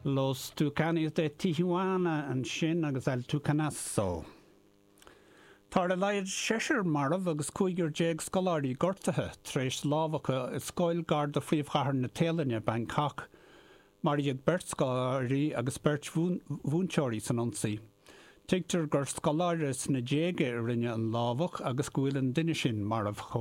Los Tucanes de Tijuana ansin agus El Tucanazo. Tá ar a laghad seisear marbh agus 15 scoláirí gortaithe tar éis lámhacha i scoil gar do phríomhchathair na Téalainne, Bangkok. Maraíodh beirt scoláirí agus beirt mhúinteoirí san ionsaí. Tuigtear gur scoláire sna déaga a rinne an lámhach agus go bhfuil an duine sin marbh chomh.